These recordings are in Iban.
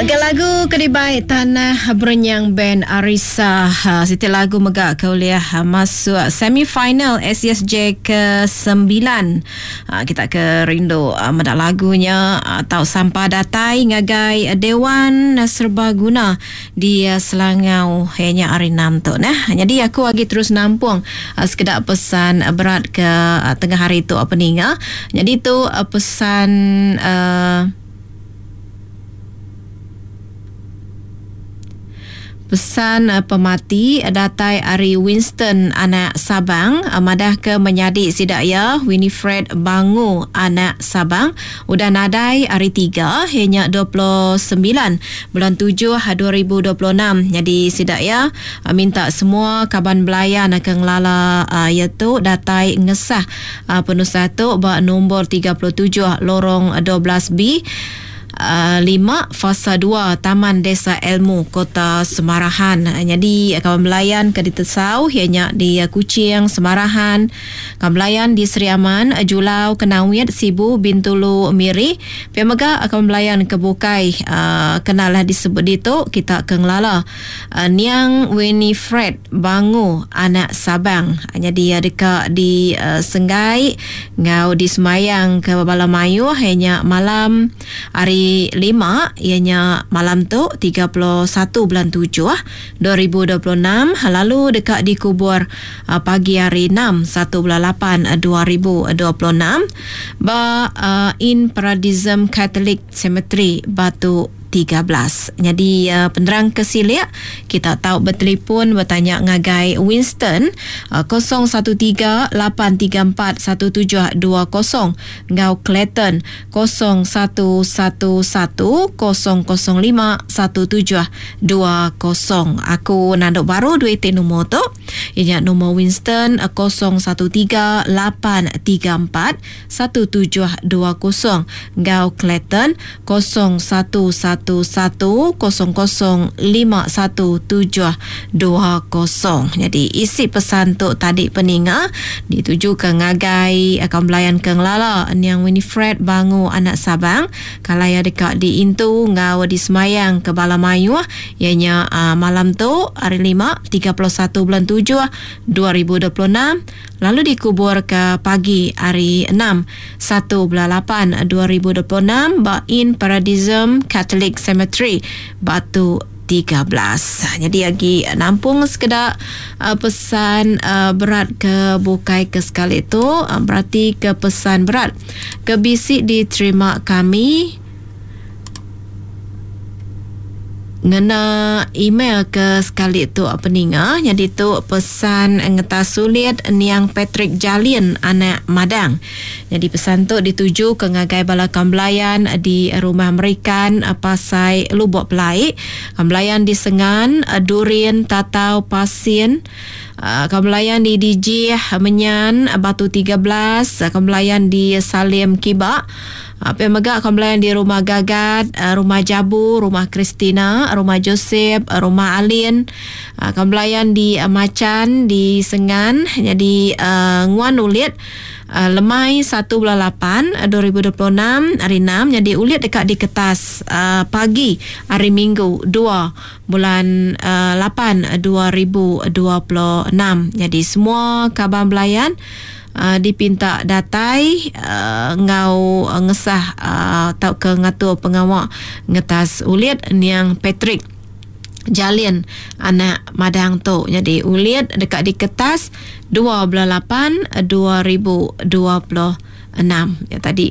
Ke lagu ke dibai Tanah Berenyang Band Arisa. Ha, siti lagu mega ke ulih ha, masuk semi final SESJ ke 9. Ha, kita ke rindu ha, meda lagunya ha, tau sampa datai ngagai Dewan Serbaguna di Selangau iya nya hari enam tu neh. Nyadi aku agi terus nampung sekeda pesan berat ke tengah hari tu peninga. Nyadi tu pesan uhh Pesan pemati datai ari Winston anak Sabang madahka menyadi sida iya Winifred Bangu anak Sabang udah nadai hari Tiga iya nya 29 Bulan tujuh 2026 nyadi sida iya minta semua kaban belayan ke ngelala iya tu datai ngesah penusah tu ba nombor 37 Lorong 12 B lima Fasa dua Taman Desa Ilmu Kota Semarahan. Nyadi kaban belayan ke ditesau iya nya di Kuching, Semarahan, Kaban belayan di Sri Aman, Julau, Kenawit, Sibu, Bintulu, Miri. Pia mega kaban belayan ke bukai kena lah disebut ditu kita ke ngelala niang Winifred Bangu anak Sabang. Nyadi iya deka disenggai enggau disemayang ke bala mayuh iya nya malam hari Lima iya nya malam tu 31 bulan tujuh 2026 lalu deka dikubur pagi hari Enam satu bulan lapan 2026 ba In Paradisum Catholic Cemetery Batu 13. Nyadi penerang ke silik kita tau betelefon betanya ngagai Winston 013 834 1720 enggau Clayton 0111 005 1720. Aku nandu baru duit ti numur tu iya nya numur Winston 013 834 1720 enggau Clayton 0111 005 1720. Nyadi isi pesan tu tadi peninga ditujuka ngagai kaum belayan ke ngelala niang Winifred Bangu anak Sabang kala iya deka diintu enggau disemayang ke bala mayuh iya nya malam tu hari Lima 31 bulan tujuh 2026 lalu dikuburka pagi hari Enam satu bulan lapan 2026 ba In Paradisum Catholic Cemetery Batu 13. Nyadi agi nampung sekeda pesan berat ke bukai ke sekali tu berati ke pesan berat ke bisi diterima kami ngena email ke sekali tu peninga nyadi tu pesan ngetas sulit niang Patrick Jalin anak Madang. Nyadi pesan tu dituju ke ngagai bala kaum belayan di Rumah Merikan Pasai Lubok Pelai, kaum belayan di Sengan, Durin, Tatau, Pasin, kaum belayan di Dijih, Menyan, Batu 13, kaum belayan di Salim Kiba, Pia mega kaum belayan di Rumah Gagat, Rumah Jabu, Rumah Christina, Rumah Joseph, Rumah Alin, kaum belayan di Machan, di Sengan, nyadi nguan ulit lemai satu bulan lapan 2026 hari enam nyadi ulit deka diketas pagi hari Minggu dua bulan lapan 2026. Nyadi semua kaban belayan dipinta datai enggau ngesah tauka ngatur pengawa ngetas ulit niang Patrick Jalin anak Madang tu. Nyadi ulit deka diketas dua bulan lapan 2026. Ya tadi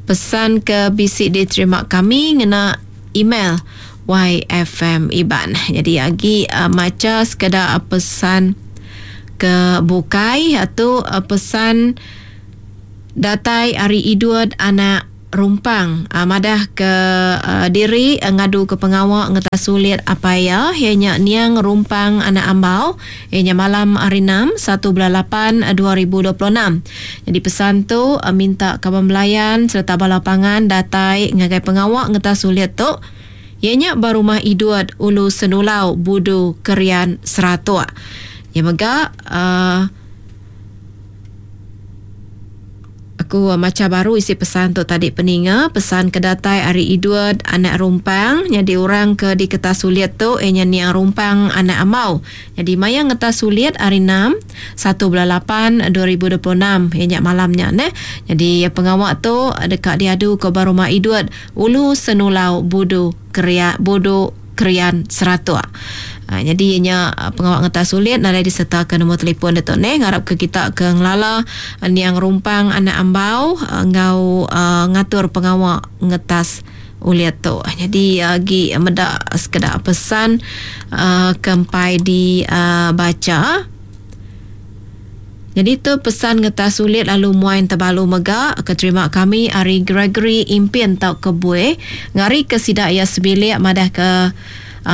pesan ke bisi diterima kami ngena email YFM Iban. Nyadi agi macha sekeda pesan ke bukai tu pesan datai ari Idut anak Rumpang madah ke diri ngadu ke pengawa ngetas sulit apai iya, iya nya Niang Rumpang anak Ambau, iya nya malam hari Enam, satu bulan lapan 2026. Nyadi pesan tu minta kaban belayan sereta bala pangan datai ngagai pengawa ngetas sulit tu, iya nya ba Rumah Idut Ulu Senulau Budu Kerian Seratok. Iya mega uhh. Aku macha baru isi pesan tu tadi peninga. Pesan ke datai ari Edward anak Rumpang nyadi orang ke diketas ulit tu iya nya niang Rumpang anak Ambau. Nyadi maya ngetas ulit hari enam, satu bulan lapan, 2026 iya nya malam nya neh. Nyadi pengawa tu deka diadu ke ba Rumah Edward, Ulu Senulau Budu Keria Budu Krian Seratok. Nyadi iya nya pengawa ngetas ulit nadai disertaka nombor telefon ditu neh. Ngarapka kita ke ngelala niang Rumpang anak Ambau enggau ngatur pengawa ngetas ulit tu. Nyadi agi meda sekeda pesan ke empai dibacha. Nyadi tu pesan ngetas ulit lalu muai entebalu mega ke terima kami ari Gregory Impin tauka Bui ngarika sida iya sebilik madahka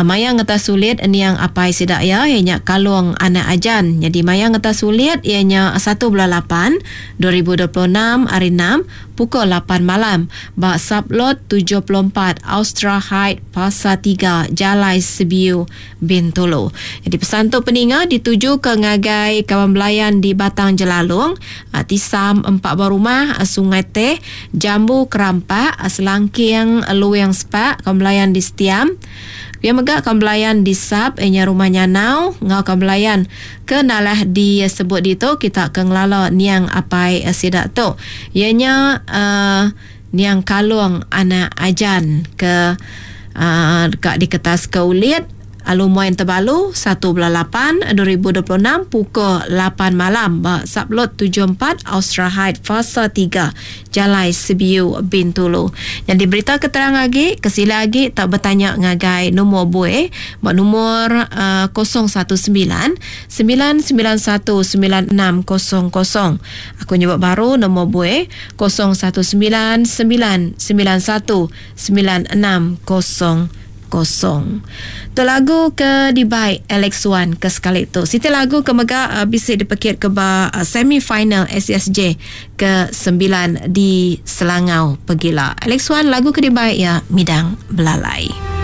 maya ngetas ulit niang apai sida iya iya nya Kalong Anak Ajan. Nyadi maya ngetas ulit iya nya satu bulan lapan, 2026 hari enam pukul lapan malam ba Sublot 74 Austra Height Fasa tiga Jalai Sebiu Bintulu. Nyadi pesan tu peninga ditujuka ngagai kaban belayan di Batang Jelalong, Tisam Empat Buah Rumah, Sungai Teh, Jambu Kerampak, Selangking Luing Sepak, kaban belayan di Setiam. Pia mega kaban belayan di Sap iya nya Rumah Nyanau enggau kaban belayan ke nalah disebut ditu kita ke ngelala niang apai sida tu iya nya uhh niang Kalong anak Ajan ke deka diketaska ulit alu muai Entebalu satu bulan lapan 2026 pukul lapan malam ba Sublot 74 Austra Height Fasa tiga Jalai Sebiu Bintulu. Nyadi berita ke terang agi ke sila agi tau betanya ngagai numur buih ba numur 019 991 9600. Aku nyebut baru numur buih 0 1 9 9 9 1 9 6 0 0. Tu lagu ke dibai Alex Wan ke sekali tu. Siti lagu ke mega bisi dipekit ke ba semi final SSJ ke sembilan di Selangau pegila. Alex Wan lagu ke dibai iya Midang Belalai.